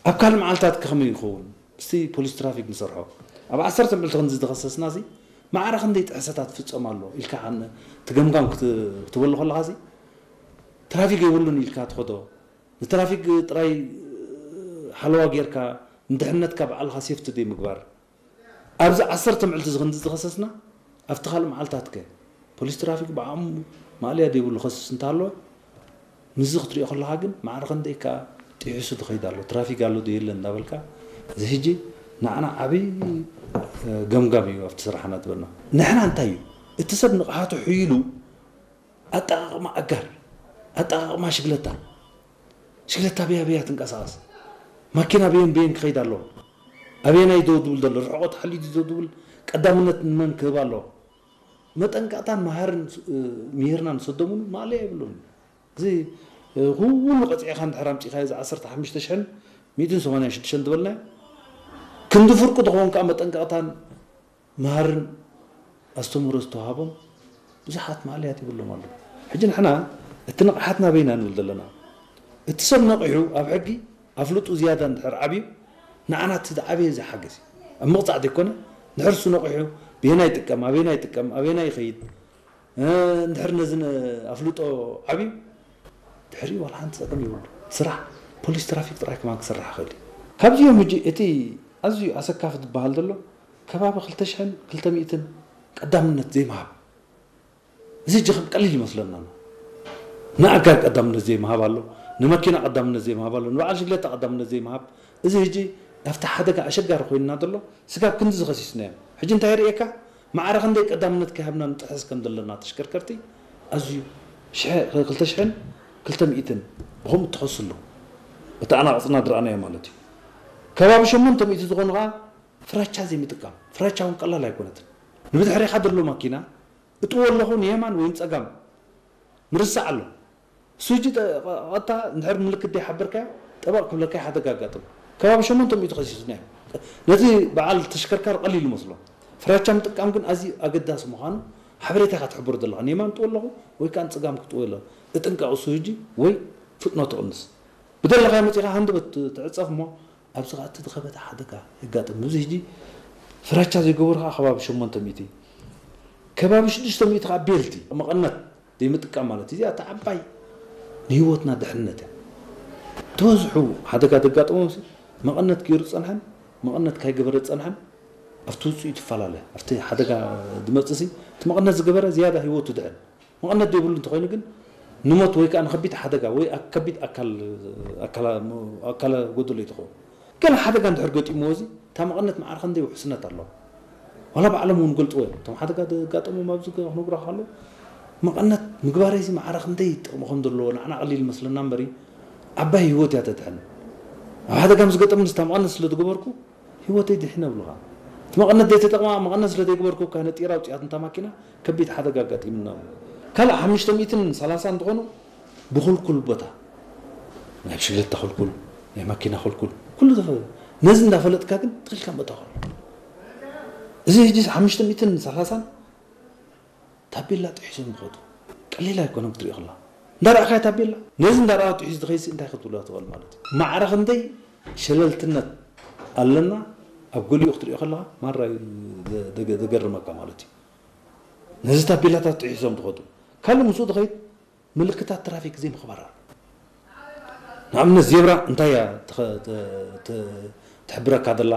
ኣብ ካልእ መዓልታት ከመይ ይኸውን? ምስቲ ፖሊስ ትራፊክ ንሰርሖ። ኣብ ዓሰርተ ምዕልቲ ክንዲ ዝተኸሰስና ሲ ማዕረ ክንደይ ጥሕሰታት ፍጸም ኣሎ ኢልካ እቲ ገምጋም ክትበሉ ከለኻ ሲ ትራፊክ የብሉን ኢልካ ትኸዶ። ንትራፊክ ጥራይ ሓለዋ ጌርካ ንድሕነትካ ባዕልኻ ሴፍቲ ደይ ምግባር። ኣብዚ ዓሰርተ ምዕልቲ እዚ ክንዲ ዝተኸሰስና ኣብቲ ካልእ መዓልታት ከ ፖሊስ ትራፊክ ብዓቕሙ ማእለያ ዘይብሉ ከስስ እንተሃለወ ምስዚ ክትሪኦ ከለኻ ግን ማዕረ ክንደይ ከኣ ጥሒሱ ዝኸይድ ኣሎ፣ ትራፊክ ኣሎ ዶ የለን እንዳበልካ። እዚ ሕጂ ንዓና ዓብዪ ገምጋም እዩ ኣብቲ ስራሕና ዝበልና። ንሕና እንታይ እዩ እቲ ሰብ ንቕሓቱ ሕይሉ ኣጠቓቕማ ኣጋር ኣጠቓቕማ ሽግለታ ሽግለታ በያ በያ ትንቀሳቐስ ማኪና በየን በየን ክኸይድ ኣለዎ ኣበየናይ ደው ዝብል ዘሎ ርሕቆት ሓሊዩ ደው ዝብል ቀዳምነት ንመን ክህብ ኣለዎ መጠንቀቕታን መሃርን ምሂርና ንሰዶምሉ ማእለያ የብሉን እዚ ኩሉ ቀፂዕኻ እንድሕር ኣምፂኻዮ እዚ ዓሰርተ ሓሙሽተ ሽሕን ሚእትን ሰማንያን ሽዱሽተን ዝበልናዮ ክንዲ ፍርቁ ዝኸውን ከዓ መጠንቀቕታን መሃርን ኣስተምህሮ ዝተዋሃቦም ብዙሓት ማእለያት ይብሎም ኣለዉ። ሕጂ ንሕና እቲ ንቕሓትና በይና ንብል ዘለና። እቲ ሰብ ነቒሑ ኣብ ሕጊ ኣፍልጡ ዝያዳ እንድሕር ዓብዩ ንዓና እቲ ዝዓበየ እዚ ሓገዝ እዩ። ኣብ ምቕፃዕ ዘይኮነ እንድሕር እሱ ነቒሑ ብየናይ ይጥቀም ኣበየናይ ይጥቀም ኣበየናይ ይኸይድ እንድሕር ነዚ ኣፍልጦ ዓብዩ ድሕሪኡ ዋላ ሓንቲ ፀገም የብሉ። ስራሕ ፖሊስ ትራፊክ ጥራይ ከማን ክስራሕ ይኽእል እዩ። ካብዚኦም ሕጂ እቲ ኣዝዩ ኣሰካፊ ዝበሃል ዘሎ ከባቢ ክልተ ሽሕን ክልተ ሚእትን ቀዳምነት ዘይምሃብ እዚ ሕጂ ከም ቀሊል ይመስለና ኣሎ። ንኣጋር ቀዳምነት ዘይምሃብ ኣሎ፣ ንመኪና ቀዳምነት ዘይምሃብ ኣሎ፣ ንበዓል ሽግለታ ቀዳምነት ዘይምሃብ እዚ ሕጂ ኣብቲ ሓደጋ ኣሸጋሪ ኮይንና ዘሎ ስጋብ ክንዲ ዝኸሲስናዮም። ሕጂ እንታይ ይርእየካ? ማዕረ ክንደይ ቀዳምነት ከይሃብና ንጥሕስ ከም ዘለና ተሽከርከርቲ ኣዝዩ ሽሕ- ክልተ ሽሕን ክልተ ሚእትን ብኸምኡ እትኸሱ ኣለዉ። እቲ ኣናቕጽና ዝረኣናዮ ማለት እዩ። ከባቢ ሸሞንተ ሚእቲ ዝኾኑ ኸዓ ፍራቻ ዘይምጥቃም። ፍራቻ እውን ቀላል ኣይኮነትን። ንብድሕሬኻ ዘሎ ማኪና እጥዎ ኣለኹ ንየማን ወይ ንጸጋም ምርሳዕ ኣሎ። እሱ ሕጂ ቀጥታ እንድሕር ምልክት ደይሓበርካዮ ጠበቕ ክብለካ ሓደጋ ኣጋጥም። ከባቢ ሸሞንተ ሚእቲ ከሲስና እዩ። ነቲ በዓል ተሽከርካሪ ቀሊል ይመስሎ። ፍራቻ ምጥቃም ግን ኣዝዩ ኣገዳሲ ምዃኑ ሓበሬታ ኢኻ ትሕብሮ ዘለኻ። ንየማን ጥዎ ኣለኹ ወይ ከዓ ንጸጋም ክጥዎ ኣለኹ። እጥንቀቕ እሱ ሕጂ ወይ ፍጥነቱ ቅንስ። ብደለኻዮ መጺኻ ሃንደበት ትዕጸፍ እሞ ኣብዚ ኸኣ እቲ ዝኸበደ ሓደጋ የጋጥም። እዚ ሕጂ ፍራቻ ዘይገበሩ ኸኣ ከባቢ ሸሞንተ ሚእቲ፣ ከባቢ ሽዱሽተ ሚእቲ ኸኣ ቤልቲ መቐነት ዘይምጥቃም ማለት እዩ። እዚኣ እታ ዓባይ ንህይወትና ድሕንነት እያ። ዝበዝሑ ሓደጋ ዘጋጥሞም ሲ መቐነት ገይሩ ዝጸንሐን መቐነት ካይገበረ ዝጸንሐን ኣብቲ ውጽኢቱ ይፈላለ። ኣብቲ ሓደጋ ዝመጽእ ሲ እቲ መቐነት ዝገበረ ዝያዳ ህይወቱ ድሕን። መቐነት ዘይብሉ እንተኾይኑ ግን ንሞት ወይ ከዓ ንከቢድ ሓደጋ ወይ ከቢድ ኣካል ኣካላ ጎደሎ እዩ ትኸውን። ገለ ሓደጋ እንድሕር ገጢምዎ እዚ እታ መቐነት ማዕረ ክንደይ ውሕስነት ኣለዋ። ዋላ ባዕሎም እውን ገልፅዎ እዮም። እቶም ሓደጋ ዘጋጠሞም ኣብዚ ክነግሮ ከሎ መቐነት ምግባረይ እዚ ማዕረ ክንደይ ጥቕሚ ከም ዘለዎ ንዓና ቀሊል ይመስለና እምበሪ ዓባይ ህይወት እያ ተድሕን። ኣብ ሓደጋ ምስ ገጠምኒ እታ መቐነት ስለ ዝገበርኩ ህይወተይ ድሒነ እብሉኻ። እቲ መቐነት ዘይተጠቕማ መቐነት ስለ ዘይገበርኩ እኳ ነጢራ ኣውፂኣት እንታ ማኪና ከቢድ ሓደጋ ኣጋጢምና። ካልእ ሓሙሽተ ሚእትን ሰላሳን ዝኾኑ ብኹልኩል ቦታ ናይ ብሽግለታ ኹልኩል ናይ ማኪና ኹልኩል ኩሉ ተፈ ነዚ እንዳፈለጥካ ግን ትኽልካ መእታ ኹሉ እዚ ሕጂ ሓሙሽተ ሚእትን ሰላሳን ታቤላ ጥሒሶም ዝኸዱ ቀሊል ኣይኮነን ክትሪኦ ከላ እንዳረኣኻዮ ታቤላ ነዚ እንዳረኣ ጥሒሱ ዝኸይሲ እንታይ ክትብሎ ትኽእል ማለት እዩ ማዕረ ክንደይ ሸለልትነት ኣለና ኣብ ገሊኡ ክትሪኦ ከለኻ ማራ ዘገርመካ ማለት እዩ ነዚ ታቤላታት ጥሒሶም ዝኸዱ ካልእ ምስኡ ዝኸይድ ምልክታት ትራፊክ ዘይምኽባር ኣሎ ንኣብነት ዜብራ እንታይ እያ ትሕብረካ ዘላ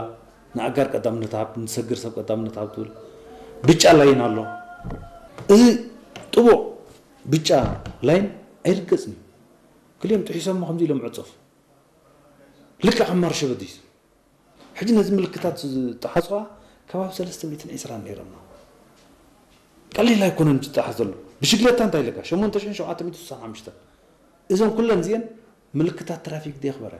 ንኣጋር ቀዳምነት ሃብ ንሰግር ሰብ ቀዳምነት ሃብ ትብል ብጫ ላይን ኣሎ እዚ ጥቡቕ ብጫ ላይን ኣይርገፅን እዩ ክልኦም ጥሒሶሞ ከምዚ ኢሎም ዕፀፉ ልክዕ ከም ማርሸበዲስ ሕጂ ነዚ ምልክታት ዝጠሓፅዋ ከባቢ ሰለስተ ሚእትን ዕስራን ነይሮምና ቀሊል ኣይኮነን ዝጠሓስ ዘሎ ብሽግለታ እንታይ ኢለካ ሸሞንተ ሽሕን ሸውዓተ ሚእትን ስሳን ሓሙሽተን እዞም ኩለን እዚአን ምልክታት ትራፊክ ደየኽበረ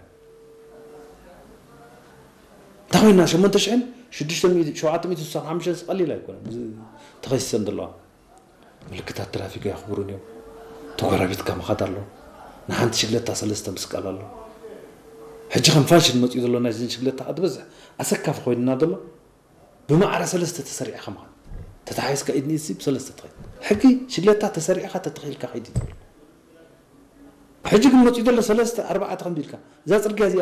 እንታይ ኮይና ሸሞንተ ሽሕን ሽዱሽተ ሚእቲ ሸውዓተ ሚእቲ ስሳን ሓሙሽተን ቀሊል ኣይኮነን ተኸሲሰን ዘለዋ ምልክታት ትራፊክ ኣየኽብሩን እዮም ተጎራቢትካ ምኻድ ኣሎ ንሓንቲ ሽግለታ ሰለስተ ምስቃል ኣሎ ሕጂ ከም ፋሽን መፅኡ ዘሎ ናይዘን ሽግለታ ዝበዝሕ ኣሰካፊ ኮይንና ዘሎ ብማዕረ ሰለስተ ተሰሪዕካ ምኻድ ተታሓሒዝካ ኢድ ንኢድ ብሰለስተ ትኸይድ ሕጊ ሽግለታ ተሰሪዕካ ተተኺልካ ከይድ ትብል ሕጂ ግን መፅኡ ዘሎ ሰለስተ ኣርባዕተ ከምዚ ኢልካ እዛ ፅርግያ እዚኣ